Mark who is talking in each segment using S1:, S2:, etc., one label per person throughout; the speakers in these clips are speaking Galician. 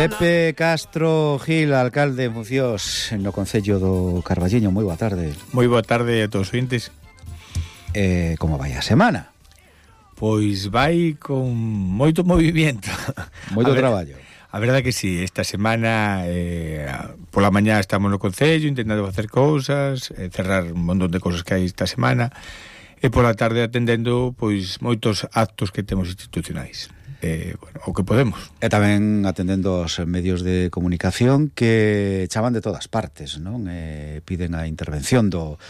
S1: Pepe Castro Gil, alcalde en funcións no concello do Carballiño. Moi boa tarde.
S2: Moi boa tarde a todos os ointes.
S1: Como vai a semana?
S2: Pois vai con moito movimento.
S1: Moito traballo.
S2: A verdade que sí, esta semana pola mañá estamos no concello intentando facer cousas, cerrar un montón de cousas que hai esta semana, e pola tarde atendendo pois moitos actos que temos institucionais. O que podemos.
S1: E tamén atendendo aos medios de comunicación que chaman de todas partes, non? Piden a intervención do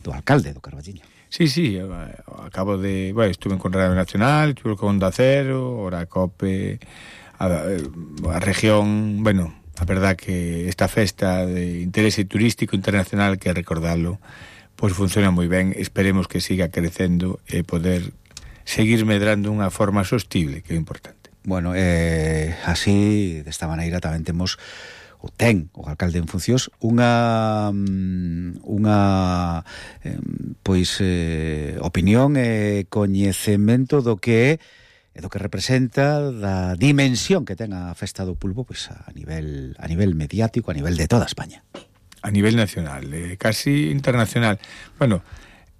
S1: alcalde do Carballiño.
S2: Sí, acabo de... Bueno, estuve con Radio Nacional, estuve con Onda Cero, ora COPE, a región... Bueno, a verdad que esta festa de interese turístico internacional, que recordalo, pois funciona moi ben. Esperemos que siga crecendo e poder seguir medrando unha forma sostible, que é importante.
S1: Bueno, así, desta maneira, tamén temos o alcalde en funcións opinión e coñecemento do que é do que representa, da dimensión que ten a festa do pulpo pois a nivel mediático, a nivel de toda España.
S2: A nivel nacional, casi internacional. Bueno,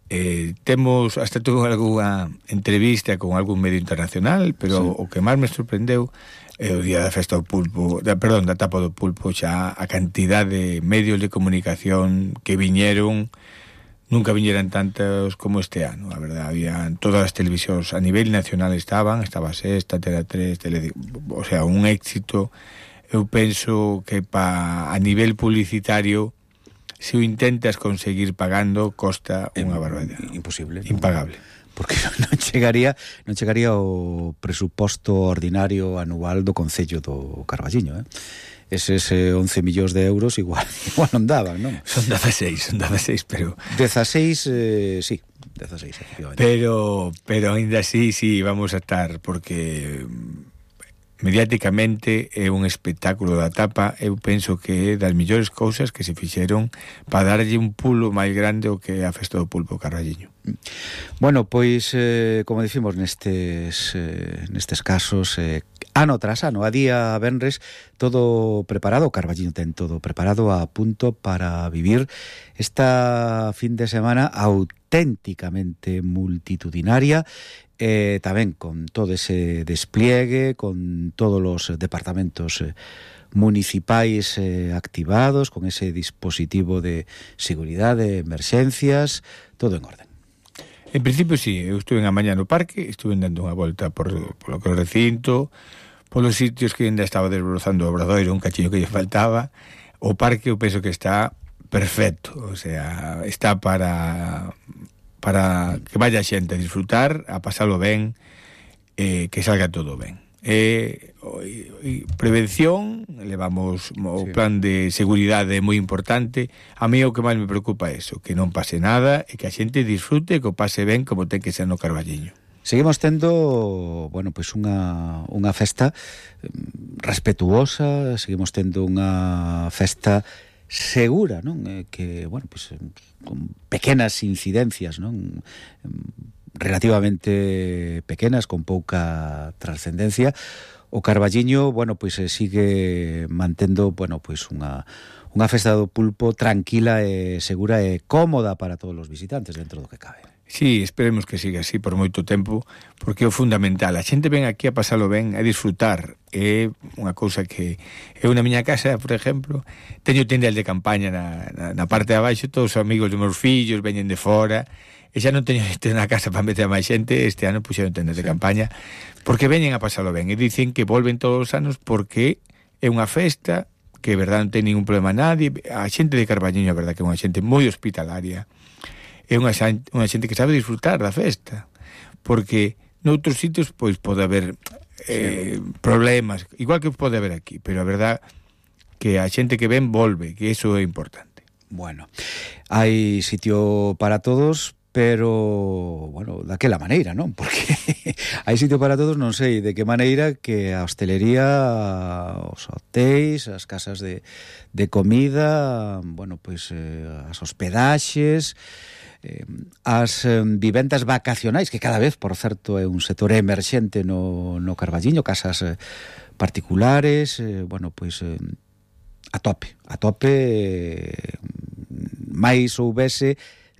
S2: hasta tuve algunha entrevista con algún medio internacional, pero sí. O que máis me sorprendeu é o día da festa do pulpo, da tapa do pulpo, xa a cantidad de medios de comunicación que viñeron. Nunca viñeran tantos como este ano, a verdade. Había todas as televisións a nivel nacional estaba Sexta, Tele 3, o sea, un éxito. Eu penso que a nivel publicitario, se o intentas conseguir pagando, costa unha barbaridade.
S1: Imposible.
S2: Impagable.
S1: Porque non chegaría o presuposto ordinario anual do concello do Carballiño, Eses 11 millóns de euros igual non daban, non?
S2: Son 16, pero...
S1: 16, sí, 16, efectivamente.
S2: Pero ainda así, sí, vamos a estar, porque... mediáticamente é un espectáculo da tapa. Eu penso que é das mellores cousas que se fixeron para darlle un pulo máis grande o que é a festa do pulpo Carballiño.
S1: Bueno, pois, como dicimos nestes casos, ano tras ano, a día venres, todo preparado. O Carballiño ten todo preparado, a punto para vivir esta fin de semana auténticamente multitudinaria, tamén con todo ese despliegue, con todos os departamentos municipais activados, con ese dispositivo de seguridade, emerxencias, todo en orden.
S2: En principio, sí, eu estuve en a mañá no parque, estuve dando unha volta polo que o recinto, polos sitios que ainda estaba desbrozando o Obradoiro, un cachiño que lle faltaba. O parque eu penso que está perfecto, o sea, está para que vaya xente a disfrutar, a pasalo ben, que salga todo ben. Prevención, levamos o plan de seguridade moi importante. A mí o que máis me preocupa é eso, que non pase nada e que a xente disfrute, que o pase ben como ten que ser no Carballiño.
S1: Seguimos tendo, bueno, pois unha festa respetuosa, seguimos tendo unha festa segura, non? Que, bueno, pois con pequenas incidencias, non? Relativamente pequenas, con pouca trascendencia. O Carballiño, bueno, pois sigue mantendo, bueno, pois unha festa do pulpo tranquila e segura e cómoda para todos os visitantes dentro do que cabe.
S2: Sí, esperemos que siga así por moito tempo, porque é o fundamental. A xente ven aquí a pasalo ben, a disfrutar. É unha cousa que... Eu na miña casa, por exemplo, teño tendel de campaña na parte de abaixo, todos os amigos dos meus fillos veñen de fora, e xa non teño na casa para meter a máis xente. Este ano puxeron tendas de campaña, porque veñen a pasalo ben, e dicen que volven todos os anos porque é unha festa que, verdad, non ten ningún problema a nadie. A xente de Carballiño, a verdad, que é unha xente moi hospitalaria, é unha xente que sabe disfrutar da festa, porque noutros sitios pois pode haber problemas, igual que pode haber aquí, pero a verdad que a xente que ven volve, que iso é importante.
S1: Bueno, hai sitio para todos, pero, bueno, daquela maneira, non? Porque hai sitio para todos, non sei de que maneira que a hostelería, os hotéis, as casas de comida, bueno, pois as hospedaxes, as vivendas vacacionais, que cada vez, por certo, é un sector emerxente no Carballiño, casas particulares, bueno, pois a tope, máis houvese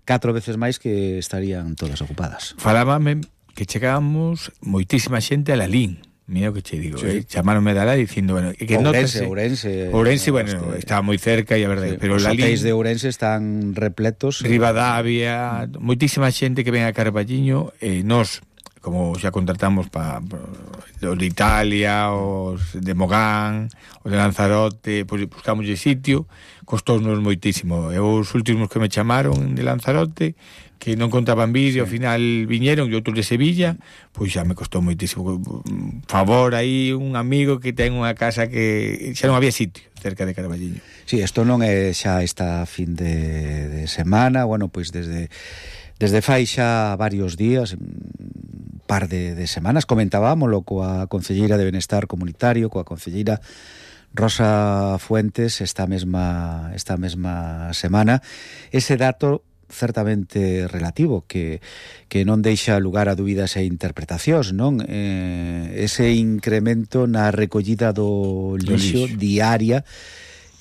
S1: 4 veces máis que estarían todas ocupadas.
S2: Falábame que chegábamos moitísima xente a Lalín. Mira o que che digo,
S1: sí.
S2: Chamaronme de alá dicindo, bueno, que Ourense, bueno, estaba moi cerca e a verdade, sí, pero
S1: os
S2: Lalín,
S1: hotéis de Ourense están repletos.
S2: Ribadavia, moitísima xente que ven a Carballiño, nós, como xa contratamos para os de Italia, os de Mogán, os de Lanzarote, pois buscamos sitio, costounos moitísimo. E os últimos que me chamaron de Lanzarote, que non contaban vídeo, ao final viñeron, e outros de Sevilla, pois xa me costou moitísimo. Favor aí, un amigo que ten unha casa que xa non había sitio cerca de Carballiño.
S1: Sí, isto non é xa esta fin de semana, bueno, pois desde fai xa varios días, un par de semanas, comentábamoslo coa concelleira de Benestar Comunitario, coa concelleira Rosa Fuentes esta mesma semana, ese dato certamente relativo que non deixa lugar a dúbidas e interpretacións, non? Ese incremento na recollida do lixo diaria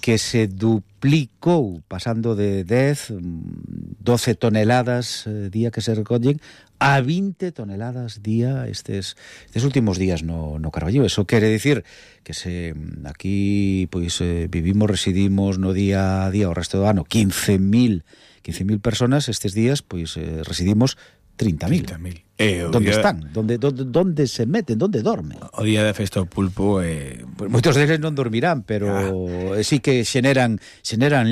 S1: que se duplicou pasando de 12 toneladas día que se recollen a 20 toneladas día estes últimos días no Carballiño. Eso quere dicir que se aquí pois vivimos, residimos no día a día o resto do ano 15.000 personas, estes días pois residimos 30.000. Donde están? Donde se meten? Donde dormen?
S2: O día da festa do pulpo
S1: pues moitos deles non dormirán, pero sí que xeneran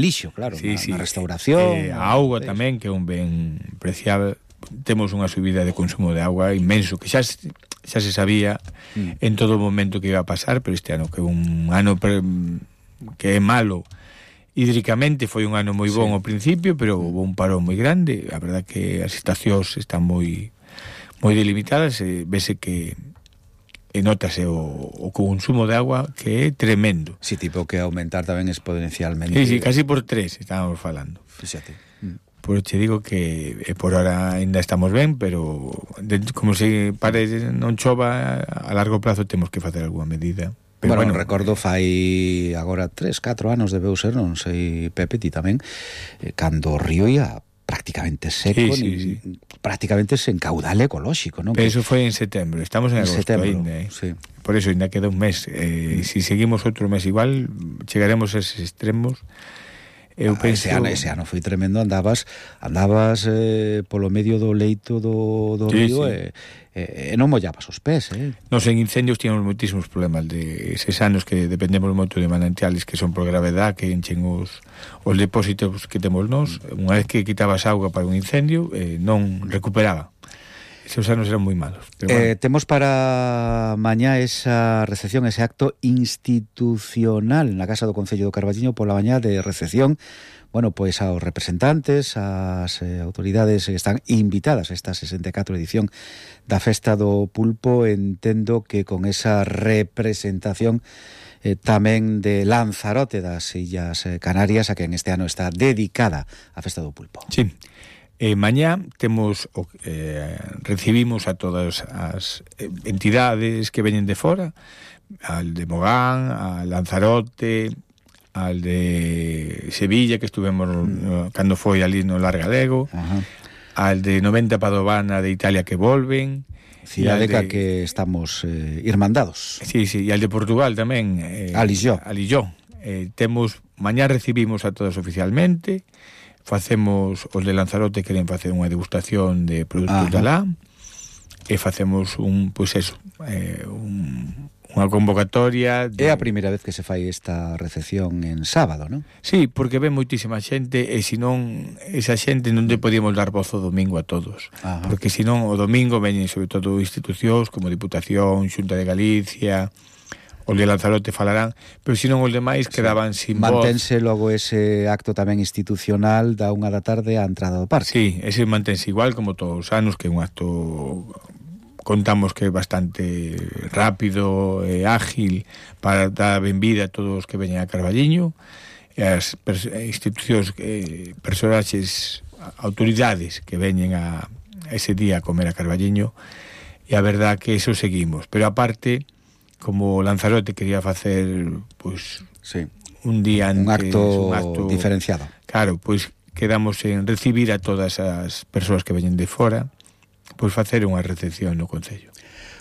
S1: lixo, claro, na restauración.
S2: A auga tamén, que é un ben preciado. Temos unha subida de consumo de auga inmenso, que xa se sabía en todo momento que iba a pasar, pero este ano, que é un ano que é malo hídricamente, foi un ano moi bon ao principio, pero houve un parón moi grande. A verdade que as estacións están moi delimitadas, vese que notase o consumo de agua, que é tremendo.
S1: Si, tipo que aumentar tamén exponencialmente.
S2: Sí, casi por 3 estábamos falando.
S1: Fíxate.
S2: Por che digo que por ahora ainda estamos ben, pero como se non chova, a largo prazo temos que facer alguna medida.
S1: Pero bueno, recordo fai agora 3-4 anos debeu ser, non sei, Pepe, ti tamén, cando o río ia prácticamente seco,
S2: sí.
S1: Prácticamente sen caudal ecolóxico, non?
S2: Pero eso foi en setembro, estamos en agosto ainda,
S1: sí.
S2: Por eso ainda queda un mes. Si seguimos outro mes igual, chegaremos a eses extremos. Eu penso...
S1: ese ano foi tremendo, andabas polo medio do leito do río e non mollabas os pés,
S2: Nos en incendios tínhamos moitísimos problemas de eses anos que dependemos moito de manantiales que son por gravedad, que enchen os depósitos que temos nós. Unha vez que quitabas auga para un incendio, non recuperaba. Esos anos eran moi malos.
S1: Bueno. Temos para mañá esa recepción, ese acto institucional na Casa do Concello do Carballiño pola mañá de recepción, bueno, pois aos representantes, as autoridades que están invitadas a esta 64 edición da Festa do Pulpo. Entendo que con esa representación tamén de Lanzarote, das Illas Canarias, a que en este ano está dedicada a Festa do Pulpo.
S2: Sí. Mañá temos recibimos a todas as entidades que veñen de fora, al de Mogán, al Lanzarote, al de Sevilla, que estuvemos cando foi ali no Largalego, al de 90 Padovana de Italia que volven,
S1: cidade que estamos irmandados.
S2: Sí, e al de Portugal tamén,
S1: Alilló.
S2: Temos, mañá recibimos a todas oficialmente. Facemos, os de Lanzarote queren facer unha degustación de produtos de alá, e facemos unha convocatoria
S1: É a primeira vez que se fai esta recepción en sábado, non?
S2: Sí, porque ven moitísima xente, e senón esa xente non te podíamos dar voz o domingo a todos. Porque senón o domingo veñen sobre todo institucións como Diputación, Xunta de Galicia, o de Lanzarote falarán, pero se non os demais quedaban sin voz.
S1: Mantense logo ese acto tamén institucional da 1 da tarde á entrada do parque.
S2: Sí, ese mantense igual como todos os anos, que é un acto, contamos que é bastante rápido e ágil para dar benvida a todos os que veñen a Carballiño, e as institucións, personaxes, autoridades que veñen a ese día a comer a Carballiño, e a verdad que eso seguimos. Pero aparte, como Lanzarote quería facer pois
S1: sí,
S2: un día antes,
S1: un acto diferenciado.
S2: Claro, pois quedamos en recibir a todas as persoas que veñen de fora, pois facer unha recepción no Concello.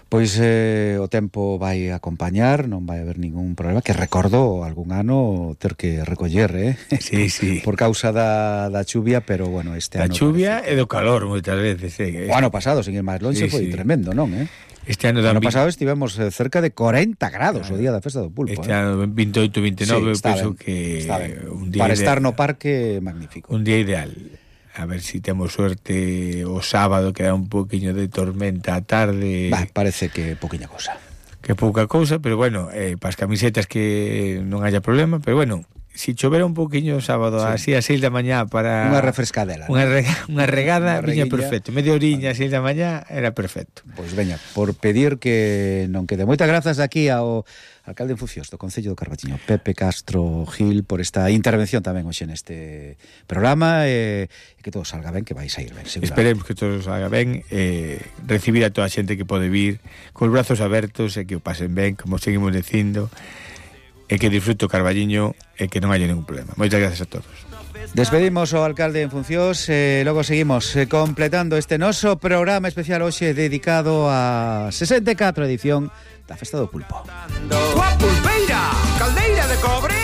S1: Pois o tempo vai acompañar, non vai haber ningún problema, que recordo algún ano ter que recoller,
S2: Sí, sí.
S1: por causa da chuvia, pero bueno, este ano...
S2: Da chuvia e do calor moitas veces,
S1: O ano pasado, sin ir máis longe, foi tremendo, non,
S2: Este ano
S1: pasado estivemos cerca de 40 grados o día da festa do pulpo.
S2: Este ano 28, 29, penso que un día
S1: para estar no parque, magnífico.
S2: Un día ideal. A ver si temos suerte o sábado, que dá un poquinho de tormenta a tarde.
S1: Parece que poquinha cousa.
S2: Que pouca cousa, pero bueno, para as camisetas que non haya problema, pero bueno, si chovera un poquinho o sábado, así a 6 da mañá para...
S1: Unha refrescadela.
S2: Unha regada, viña perfecto. Media oriña a 6 da mañá era perfecto.
S1: Pois veña, por pedir que non quede. Moitas grazas aquí ao alcalde en funcións do Concello do Carballiño, Pepe Castro Gil, por esta intervención tamén hoxe neste programa, e que todo salga ben, que vai sair ben, seguramente.
S2: Esperemos que todo salga ben, recibir a toda a xente que pode vir cos brazos abertos e que o pasen ben, como seguimos dicindo, e que disfrute o Carballiño e que non haya ningún problema. Moitas gracias a todos.
S1: Despedimos ao alcalde en funcións, logo seguimos completando este noso programa especial hoxe dedicado a 64 edición da Festa do Pulpo.
S3: Coa pulpeira, caldeira de cobre,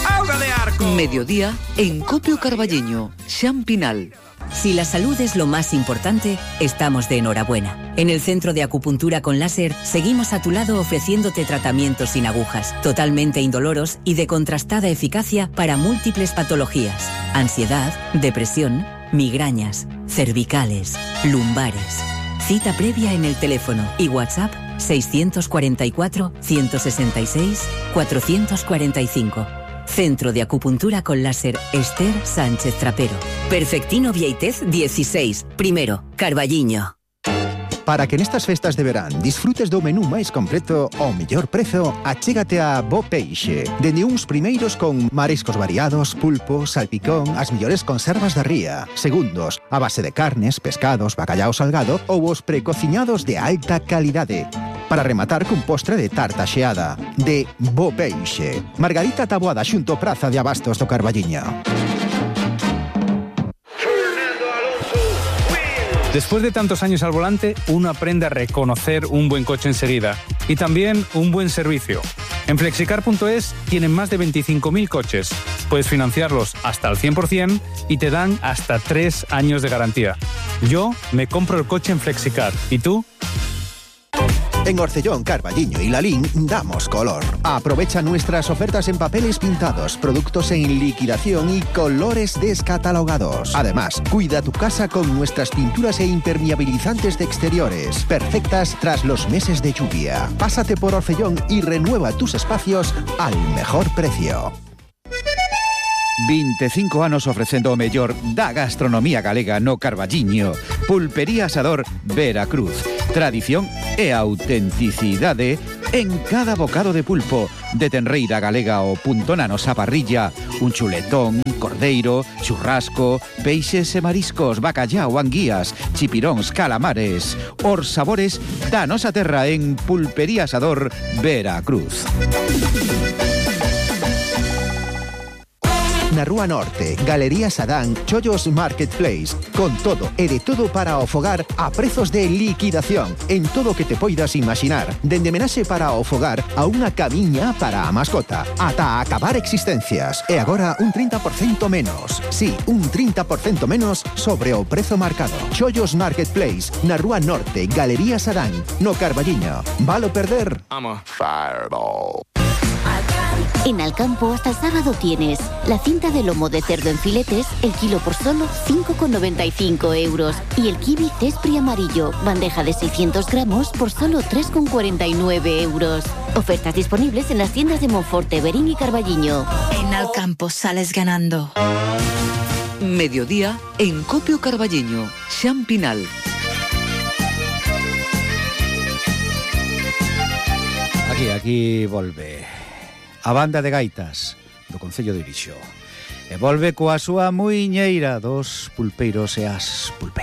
S3: auga de arco.
S4: Mediodía en Copio Carballiño, Xan Pinal.
S5: Si la salud es lo más importante, estamos de enhorabuena. En el Centro de Acupuntura con Láser seguimos a tu lado ofreciéndote tratamientos sin agujas, totalmente indoloros y de contrastada eficacia para múltiples patologías: ansiedad, depresión, migrañas, cervicales, lumbares. Cita previa en el teléfono y WhatsApp 644-166-445. Centro de Acupuntura con Láser Esther Sánchez Trapero. Perfectino Vieitez 16, primero, Carballiño.
S6: Para que nestas festas de verán disfrutes do menú máis completo ao mellor prezo, achégate a Bo Peixe. Dende uns primeiros con mariscos variados, pulpo, salpicón, as mellores conservas da ría. Segundos, a base de carnes, pescados, bacallao salgado ou os precociñados de alta calidade. Para rematar cun postre de tarta xeada. De Bo Peixe. Margarita Taboada xunto Praza de Abastos do Carballiño.
S7: Después de tantos años al volante, uno aprende a reconocer un buen coche enseguida y también un buen servicio. En Flexicar.es tienen más de 25.000 coches. Puedes financiarlos hasta al 100% y te dan hasta 3 años de garantía. Yo me compro el coche en Flexicar. ¿Y tú?
S6: En Orcellón, Carballiño y Lalín damos color. Aprovecha nuestras ofertas en papeles pintados, productos en liquidación y colores descatalogados. Además, cuida tu casa con nuestras pinturas e impermeabilizantes de exteriores, perfectas tras los meses de lluvia. Pásate por Orcellón y renueva tus espacios al mejor precio.
S1: 25 anos ofrecendo o mellor da gastronomía galega no Carballiño. Pulpería Asador Veracruz. Tradición e autenticidade en cada bocado de pulpo. De tenreira galega ao punto na nosa parrilla. Un chuletón, cordeiro, churrasco, peixes e mariscos, bacallao, anguías, chipiróns, calamares. Os sabores da nosa terra en Pulpería Asador Veracruz.
S6: Na Rúa Norte, Galería Sadán, Chollos Marketplace, con todo e de todo para o fogar a prezos de liquidación en todo o que te poidas imaginar, dende menaxe para o fogar a unha camiña para a mascota, ata acabar existencias. E agora un 30% menos. Sí, un 30% menos sobre o prezo marcado. Chollos Marketplace, na Rúa Norte, Galería Sadán, no Carballiño. Valo perder?
S3: I'm a fireball.
S8: En Alcampo hasta el sábado tienes la cinta de lomo de cerdo en filetes, el kilo por solo 5,95 euros. Y el kiwi cespri amarillo, bandeja de 600 gramos por solo 3,49 euros. Ofertas disponibles en las tiendas de Monforte, Verín y Carballiño.
S9: En Alcampo sales ganando.
S4: Mediodía en Copio Carballiño, Xan Pinal.
S1: Aquí volve a banda de gaitas do Concello de Irixo. E volve coa súa muiñeira dos pulpeiros e as pulpeiras.